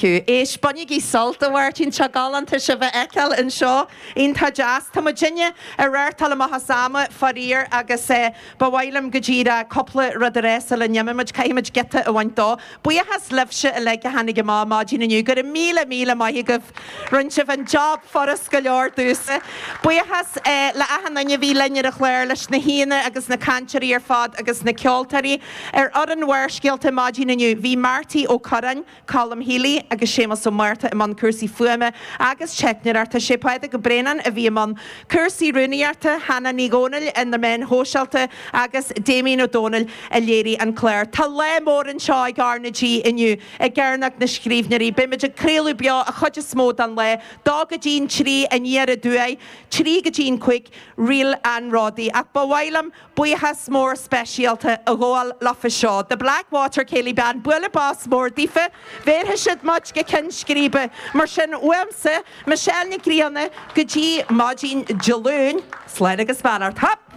Éist, bainigí sult, a Mháirtín, tá galánta sibh a fheiceáil anseo. Iontach deas. Tá muidinne ag reáchtáil amach as ama, faraor, agus ba mhaith liom go díreach cúpla rud a rá sula n-imímid. Caithfimid giota a bhaint dó. Buíochas libhse uilig a tháinig amach maidin inniu. Go raibh míle, míle maith agaibh. Rinne sibh an job furast go leor domhsa. Buíochas le achan duine a bhí linn ar an chlár, leis na haíonna agus na cainteoirí ar fad agus na ceoltóirí. Ar fhoireann Bharrscéalta maidin inniu bhí Marty Ó Curráin, Colm Healy agus Séamus Ó Márta i mbun cúrsaí fuaime agus teicneoireachta. Sé Pádraig Ó Braonáin a bhí i mbun cúrsaí rúnaíochta, Hannah Ní Dhomhnaill ar na meáin shóisialta agus Damien Ó Dónaill a léirigh an clár. Tá lá mór anseo ag R na G inniu i gCearnóg na Scríbhneoirí. Beimid ag craoladh beo a chuid is mó den lá, dó go dtí'n trí aniar aduaidh, trí go dtí'n cúig, Ríl an Ródaí. Ach ba mhaith liom Buíochas mór speisialta a ghabháil leofa seo, The Blackwater Céilí Band, bualadh bos mór daofa, bhéarfaidh siad muid go ceann scríbe. Mar sin, uaimse, Michelle Nic Grianna, go dtí maidin Dé Luain, slán agus beannacht. Hup!